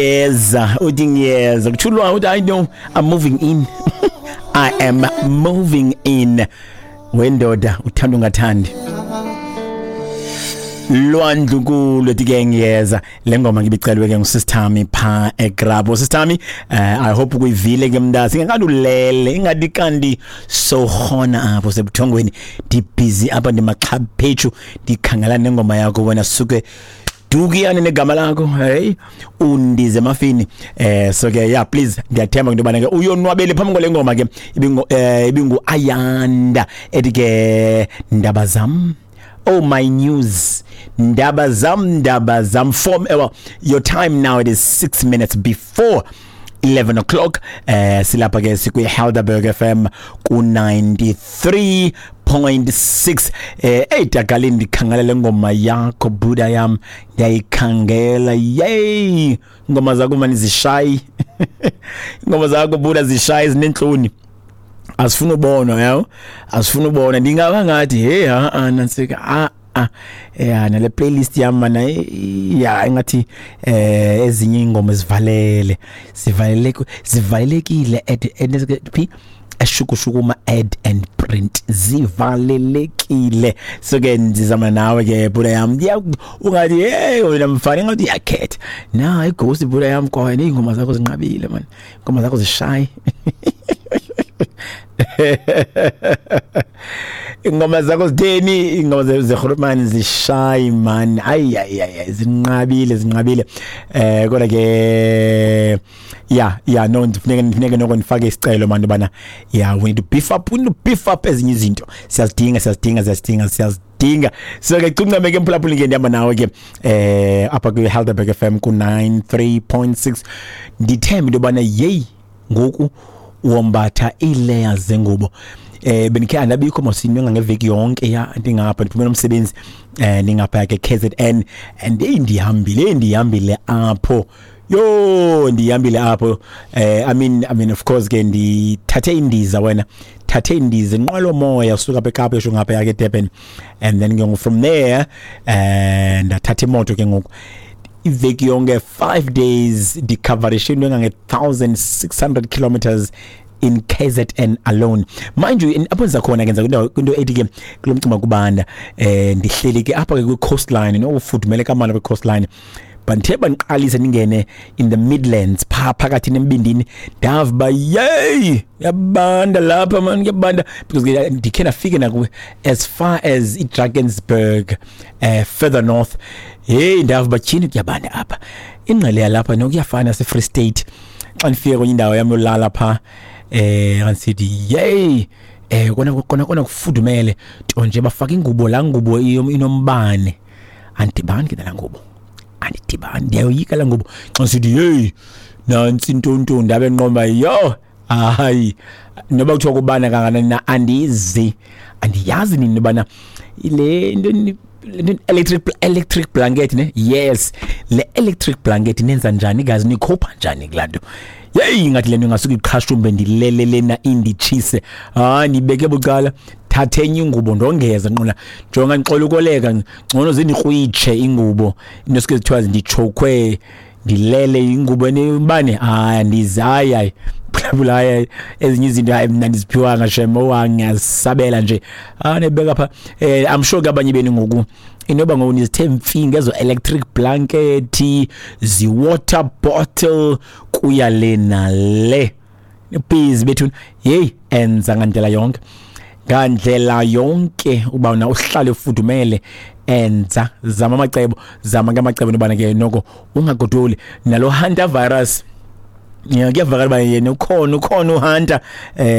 Ngiyeza, uthi ngiyeza. Kuthulwa uthi I know I'm moving in. I am moving in. Wendoda uthanda ungathandi. Lwandlunkulu ethi ke ngiyeza. Le ngoma ngibicelwe ke ngusistami pha eGrabo. Sistami, I hope ukuyivile ke mntasi. Ingakade ulele, ingadi kanti sowukhona apho sebuthongweni. Ndibhizi apha ndimaxhaphethu ndikhangela nengoma yakho wena suke dukiyane negama lakho, hey, undize emafini. So ke yeah, please, ndiyathemba into yobana ke uyonwabele phambi kwale ngoma ke ibingu ibingu Ayanda ethi ke ndaba zam. Oh, my news, ndaba zam, ndaba zam. Form, well, your time now, it is 6 minutes before 11 o'clock. Silapha ke sikwi Helderberg FM ku 93.6. Hey dagalini, ndikhangela le ngoma yakho buda yam, ndiyayikhangela. Yey, ingoma zakho mani zishayi, ingoma zakho buda zishayi, zinentloni, asifuna ubona yawo, asifuna ubona. Ndingaba ngathi hey, ha a nansika, a a ya nale playlist yami mana, ya engathi ezinye ingoma zivalele, zivaleleke, zivalelekile at phi eshukushukuma add and print, zivalelekile. So ke ndizama nawe ke buda yam, ungathi hey wena mfana ngathi uyakhetha na ighost buda yam, kwaye ingoma zakho zinqabile man, ingoma zakho zishayi, ingoma zakho zitheni, ingoma zeGrootman zishayi man, ay ay ay, zinqabile, zinqabile. Kodwa ke ya no, ndifuneke noko ndifake isicelo man bana, yeah, we need to beef up, we need to beef up ezinye izinto, siyazidinga, siyazidinga, siyazidinga, siyazidinga. So ke cuncame ke mphulaphuli ke, ndihamba nawe ke apha kwi Helderberg FM ku 93.6. Ndithemba into yobana yeyi ngoku wombatha ii-layers zengubo. Bendikhe andabikho mosinywe ngeveki yonke, ya, ndingapha ndiphumela umsebenzi, ndingapha ke KZN, and hey, ndihambile, ndihambile apho, yo, ndihambile apho. I mean of course ke ndithathe indiza, wena thathe indiza, inqwelo moya usuka apha eKapa yosho ngapha yake Durban, and then ke from there ndathatha imoto ke ngoku iveki yonke, 5 days, ndicoverishe into engange 1600 kilometers in KZN alone. Mind you, apho ndiza khona ke, ndiza kwinto ethi ke kulo mcimbi kubanda, ndihleli ke apha ke kwi coastline, no ufudumele kamana kwi coastline, but ndithe bandiqalise ndingene in the Midlands pha phakathi nembindini, ndava uba yeyi yabanda lapha man, kuyabanda, because ke ndikhe ndafike naku as far as iDrakensberg, further north. Hey, ndava uba tyhini kuyabanda apha, ingqele yalapha nokuyafana se-Free State. Xa ndifike kwenye indawo yam yolala pha, ngisithi yey, kona kona kona kufudumele nto nje, bafaka ingubo, laa ngubo inombane, andidibani ke nalaa ngubo, andidibani, ndiyayoyika laa ngubo. Xa ngisithi hey nantsi intonto, ndabe nqomba yo, hayi, noba kuthiwa kubana kangakanani na, andizi, andiyazi nini ubana le nto electric blanket ne, yes, le electric blanket nenza njani gazi, nikhupha njani kulaa nto? Yeyi, ngathi le nto ingasuke iqhashumbe, ndilele lena inditshise. Hayi, ndibeke bucala, thathe enye ingubo ndongeza nqola, jonga ndixola ukoleka, ngcono zindikrwitshe ingubo, into suke zithiwa nditshokhwe, ndilele ingubo enibane. Hayi, andizi, hayi hayi, phulaphula, hayi, ezinye izinto hayi mna ndiziphiwanga shem, owangiyasabela nje. Ah, nibeka pha, I'm sure ke abanye benu ngoku inoba ngoku nizithe mfi ngezo electric blanket, zi-water bottle, kuya le nale busy bethu. Hey, enza ngandlela yonke, ngandlela yonke uba na uhlale ufudumele, enza, zama amacebo, zama ke amacebo nobana ke noko ungagodoli nalo hunter virus. Ya, kuyavakala uba yena ukhona, ukhona uhunter,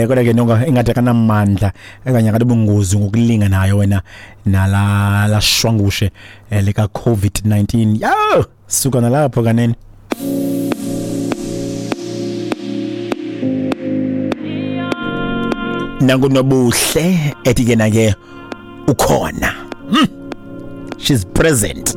kodwa ke noko ingathi akanamandla okanye akanobungozi ngokulinganayo wena nala lashwangushe lika COVID-19. Yo, suka nalapho kanene. Nangunobuhle ethi ke na ke ukhona. She's present.